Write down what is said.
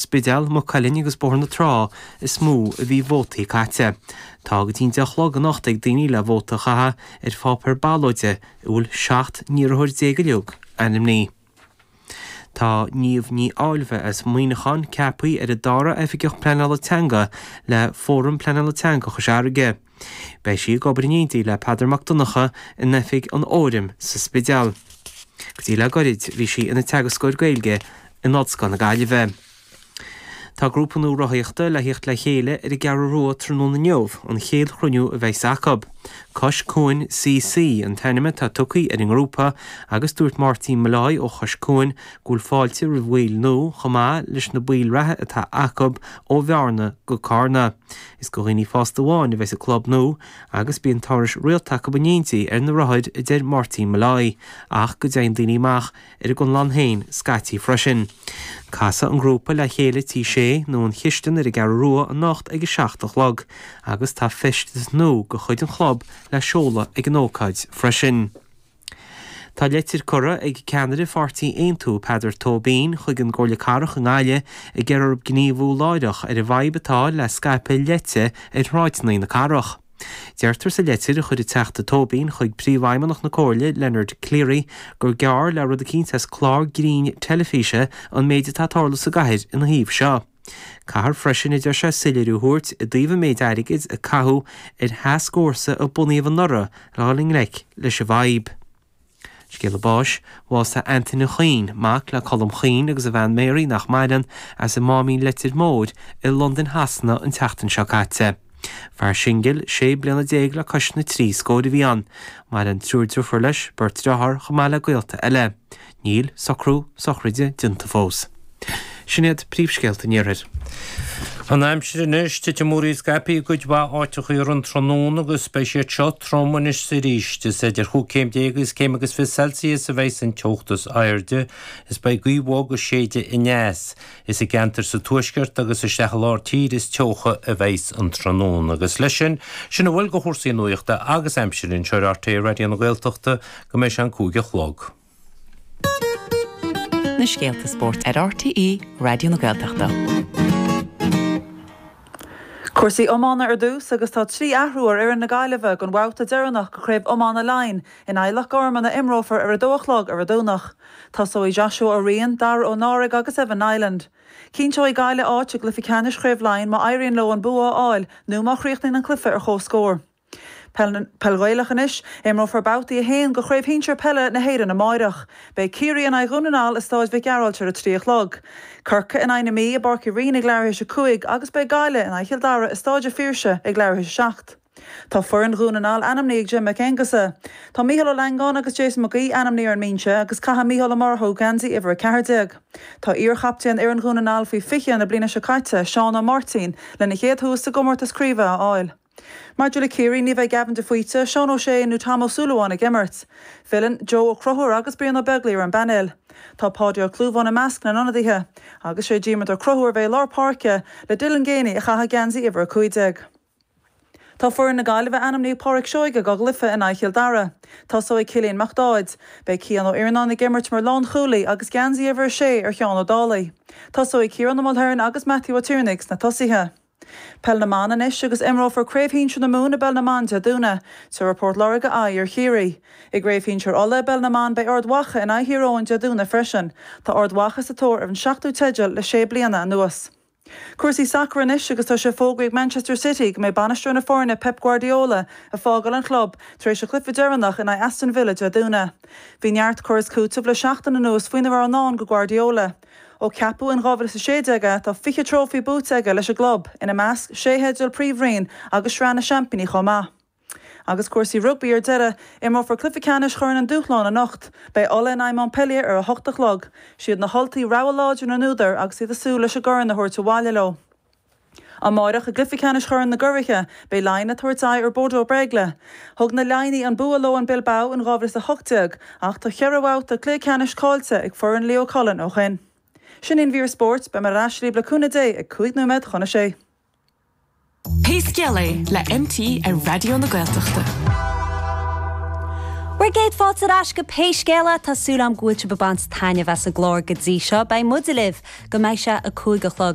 Spidéal, Maigh Cuilinn agus Bóthar na Trá is mó a bhí vótaí caite. Tá go dtí an 10 a chlog anocht ag daoine le vóta a chaitheamh ar pháipéar ballóide a bhfuil 17 n-iarrthóir uilig ainmnithe. Tá Niamh Ní Áilbhe as Muineachán ceaptha ar an dara Oifigeach Pleanála Teanga le Fóram Pleanála Teanga Chois Fharraige. Beidh sí ag obair in éindí le Peadar Mac Donncha in oifig an Fhóraim sa Spidéal. Go dtí le goirid bhí sí ina teagascóir Gaeilge in Ollscoil na Gaillimhe. Tá grúpa nua rothaíochta le thíocht le chéile ar an gCeathrú Rua tráthnóna inniu, an chéad chruinniú a bheas acu. Cois Cuain CC an t-ainm atá tugtha ar an ngrúpa agus dúirt Máirtín Molloy ó Chois Cuain go bhfuil fáilte roimh bhaill nua chomh maith leis na baill reatha atá acu ó Bhearna go Carna. Is go dhaoine fásta amháin a bheidh sa club nua agus bíonn turais rialta acu in éindí ar na rothair a deir Máirtín Molloy ach go dtéann daoine amach ar a gconlán féin scaití freisin. Casfaidh an grúpa le chéile Tí Sé nó an Chistin ar an gCeathrú Rua anocht ag a 7 a chlog agus tá feisteas nua de chuid an chlub le seoladh ag an ócáid freisin. Tá leitir curtha ag ceannaire pháirtí Aontú, Peadar Tóibín, chuig an gComhairle Cathrach i nGaillimh ag iarraidh orthu gníomhú láithreach ar an bhfadhb atá le scaipeadh leite ar shráideanna na cathrach. Deirtear sa leitir a chuir an Teachta Tóibín chuig Príomhfheidhmeannach na Comhairle, Leonard Cleary, gur gearr le rud eicínt as clár grinn teilifíse an méid atá ag tarlú sa gcathair ina thaobh seo. Caithfear freisin, a deir sé, soiléiriú a thabhairt i dtaobh an méid airgid a caitheadh ar thascfhórsa a bunaíodh anuraidh le dhul i ngleic leis an bhfadhb. Scéala báis, Bhásaigh Antaine Chuinn, mac le Colm Chuinn agus a bhean Mary nach maireann, as an Máimín Leitir Móir i Londain Shasana an tseachtain seo caite. Fear singil, 16 bliana le cois na dtrí scóir a bhí ann. Maireann triúr driofúr leis, beirt driotháir chomh maith le gaolta eile. Níl socrú sochraide déanta fós. Sin iad príomhscéalta an iarthair. An aimsir anois, titfidh múraíl scaipthe i gcuid mhaith áiteacha ar an tráthnóna agus beidh siad seo trom anois is arís. Is idir chúig chéim déag agus céim agus 20 Celsius a bheidhs an teocht is airde is beidh gaoth bhog ag séideadh aneas. Is i gceantair sa tuaisceart agus isteach i lár tíre is teocha a bheidhs an tráthnóna. Agus leis sin, sin a bhfuil de chúrsaí nuachta agus aimsire anseo ar RTÉ Raidió na Gaeltachta go mbeidh sé an 5 a chlog. Na scéalta spóirt ar RTÉ Raidió na Gaeltachta. Cúrsaí iomána ar dtús agus tá 3 athrú ar fhoireann na Gaillimhe don bhabhta deireanach de Chraobh Iomána Laighean in aghaidh Loch Garman a imreofar ar 2 a chlog ar an Domhnach. Tosóidh Joshua Ó Riain, Dara Ó Náraigh agus Evan Niland. Cinnteoidh Gaillimh áit i gcluiche ceannais Chraobh Laighean má éiríonn leo an bua a fháil nó má chríochnaíonn an cluiche ar comhscór. Peil Ghaelach anois. Imreofar Babhtaí 1 de Chraobh Shinsir Peile na hÉireann amáireach. Beidh Ciarraí in aghaidh Dhún na nGall i Stáid Mhic Gearailt ar a 3 a chlog. Corcaigh in aghaidh na Mí i bPáirc Uí Rinn ag leathuair théis a 5 agus beidh Gaillimh in aghaidh Chill Dara i Stáid a' Phiarsaigh ag leathuair théis a 7. Tá foireann Dhún na nGall ainmnithe ag Jim Mac Aonghusa. Tá Micheál Ó Langáin agus Jason Mac Aoidh ainmnithe ar an mbinse agus caithfidh Micheál Ó Murchú geansaí uimhir 14. Tá iar-chaptaen fhoireann Dhún na nGall faoi 20 na bliana seo caite, Seán Ó Máirtín, lena chéad thuas sa gcomórtas craoibhe a fháil. Maidir le Ciarraí, ní bheidh Gavin de Faoite, Seán Ó Sé nó Tom Ó Súilleabháin ag imirt. Filleann Joe Ó Conchúir agus Brian Ó Beaglaoich ar an bpainéal. Tá Páidí Ó Clúmháin i measc na n-ionadaithe. Agus sé Diarmuid Ó Conchúir a bheidh i lár páirce le Dylan Geaney a chaithfidh geansaí uimhir 15. Tá foireann na Gaillimhe ainmnithe ag Pádraic Seoige dá gcluiche in aghaidh Chill Dara. Tosóidh Cillian Mac Dáid. Beidh Cian Ó Iarnáin ag imirt mar lánchúlaí agus geansaí uimhir 6 ar Sheán Ó Dálaigh. Tosóidh Ciarán Ó Mulhern agus Matthew Ó Tiarnaigh sna tosaithe. Peil na mBan anois agus imreofar Craobh Shinsir na Mumhan i bPeil na mBan Dé Domhnaigh. Tabharfaidh Port Láirge aghaidh ar Chiarraí. I gCraobh Shinsir Uladh i bPeil na mBan beidh Ard Mhacha in aghaidh Thír Eoghain Dé Domhnaigh freisin. Tá Ard Mhacha sa tóir ar an seachtú teideal le sé bliana anuas. Cúrsaí sacair anois agus tá sé fógraithe ag Manchester City go mbeidh bainisteoir na foirne Pep Guardiola ag fágáil an chlub tar éis a chluiche deireanach in aghaidh Aston Villa Dé Domhnaigh. Bhí neart cur is cúiteamh le seachtain anuas faoina raibh i ndán do Guardiola. Ó ceapadh in 2016 é, tá 20 trófaí buaite aige leis an gclub, ina measc, sé theideal Príomhroinn agus Sraith na Seaimpíní chomh maith. Agus cúrsaí rugbaí ar deireadh, imreofar cluiche ceannais Chorn an Dúshláin anocht. Beidh Ulaidh in aghaidh Montpellier ar 8 a chlog. Siad na hUltaigh rogha láidir na n-údar agus iad ag súil leis an gcorn a thabhairt abhaile leo. Amáireach i gcluiche ceannais Chorn na gCuraithe, beidh Laighin ag tabhairt aghaidh ar Bordeaux Bègles. Thug na Laighnigh an bua leo in Bilbao in 2018 ach tá cheithre bhabhta cluiche ceannais caillte ag foireann Leo Cullen ó shin. Sin í an mhír spóirt, beidh mé ar ais libh le cúnamh Dé ag 5 nóiméad chun a sé. Pé Scéal É le MT ar Raidió na Gaeltachta. Bhur gcéad fáilte ar ais go Pé Scéal É. Tá súil agam go bhfuil sibh ag baint taitneamh as an gclár go dtí seo. Beidh muide libh go mbeidh sé a 5 a chlog.